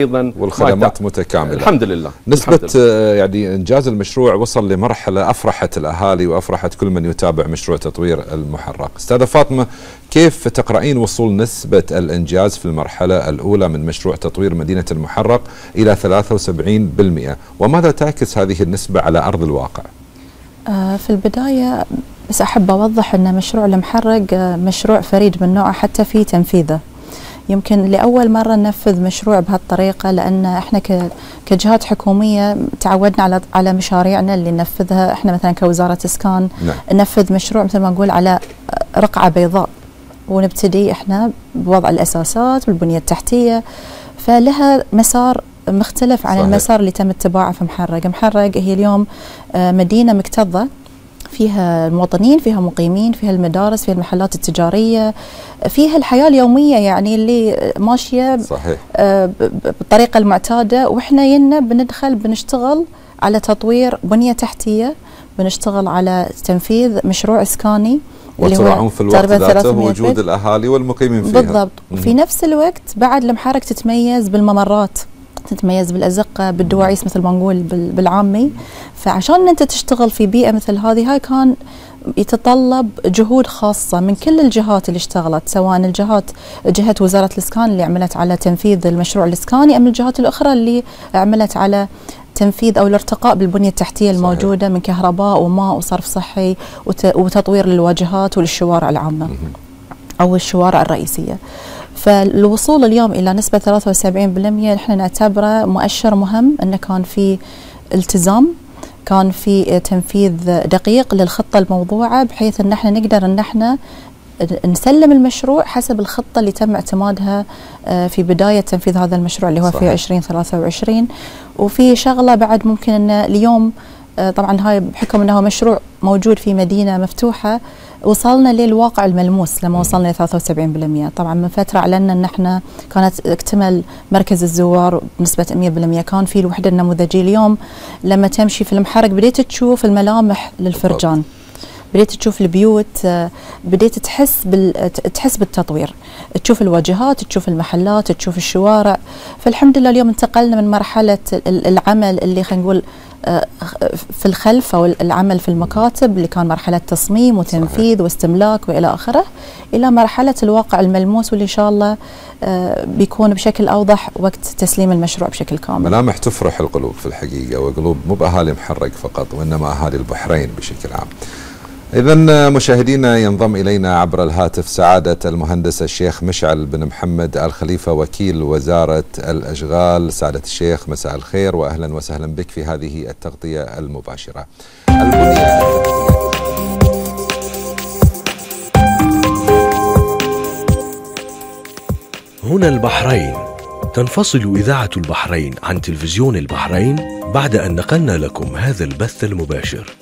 أيضا والخدمات متكاملة الحمد لله. نسبة يعني إنجاز المشروع وصل لمرحلة أفرحت الأهالي وأفرحت كل من يتابع مشروع تطوير المحرق. أستاذة فاطمة، كيف تقرأين وصول نسبة الإنجاز في المرحلة الأولى من مشروع تطوير مدينة المحرق إلى 73%، وماذا تعكس هذه النسبة على أرض الواقع؟ في البداية بس أحب أوضح أن مشروع المحرق مشروع فريد من نوعه حتى في تنفيذه. يمكن لأول مرة ننفذ مشروع بهالطريقة، لأن إحنا كجهات حكومية تعودنا على مشاريعنا اللي ننفذها إحنا مثلا كوزارة إسكان. ننفذ مشروع مثل ما نقول على رقعة بيضاء، ونبتدي إحنا بوضع الأساسات والبنية التحتية، فلها مسار مختلف عن المسار اللي تم اتباعه في محرق. محرق هي اليوم مدينة مكتظة، فيها المواطنين، فيها مقيمين، فيها المدارس، فيها المحلات التجارية، فيها الحياة اليومية يعني اللي ماشية صحيح بالطريقة المعتادة. وإحنا ينا بندخل بنشتغل على تطوير بنية تحتية، بنشتغل على تنفيذ مشروع إسكاني وتراعون في الوقت ذاته وجود الأهالي والمقيمين فيها. بالضبط. وفي نفس الوقت بعد المحرق تتميز بالممرات، تتميز بالأزقة، بالدواعيس مثل ما نقول بالعامي. فعشان أنت تشتغل في بيئة مثل هذه، هاي كان يتطلب جهود خاصة من كل الجهات اللي اشتغلت، سواء جهة وزارة الإسكان اللي عملت على تنفيذ المشروع الإسكاني، أم الجهات الأخرى اللي عملت على تنفيذ أو الارتقاء بالبنية التحتية الموجودة من كهرباء وماء وصرف صحي وتطوير للواجهات وللشوارع العامة أو الشوارع الرئيسية. فالوصول اليوم إلى نسبة 73% نحن نعتبره مؤشر مهم، أنه كان في التزام، كان في تنفيذ دقيق للخطة الموضوعة، بحيث أن احنا نقدر أن احنا نسلم المشروع حسب الخطة اللي تم اعتمادها في بداية تنفيذ هذا المشروع اللي هو في 2023. وفي شغلة بعد ممكن أن اليوم طبعا هاي بحكم أنه مشروع موجود في مدينة مفتوحة، وصلنا للواقع الملموس لما وصلنا ل 73%. طبعا من فترة أعلنا أن احنا كانت اكتمل مركز الزوار بنسبة 100%، كان في الوحدة النموذجية. اليوم لما تمشي في المحرق بديت تشوف الملامح للفرجان، بديت تشوف البيوت، بديت تحس بالتطوير، تشوف الواجهات، تشوف المحلات، تشوف الشوارع. فالحمد لله اليوم انتقلنا من مرحلة العمل اللي خلينا نقول في الخلف أو العمل في المكاتب، اللي كان مرحلة تصميم وتنفيذ واستملاك وإلى آخره، إلى مرحلة الواقع الملموس، واللي إن شاء الله بيكون بشكل أوضح وقت تسليم المشروع بشكل كامل. ملامح تفرح القلوب في الحقيقة، وقلوب مو بأهالي محرق فقط، وإنما أهالي البحرين بشكل عام. إذن مشاهدينا، ينضم إلينا عبر الهاتف سعادة المهندس الشيخ مشعل بن محمد الخليفة، وكيل وزارة الأشغال. سعادة الشيخ، مساء الخير وأهلا وسهلا بك في هذه التغطية المباشرة. هنا البحرين. تنفصل إذاعة البحرين عن تلفزيون البحرين بعد أن نقلنا لكم هذا البث المباشر.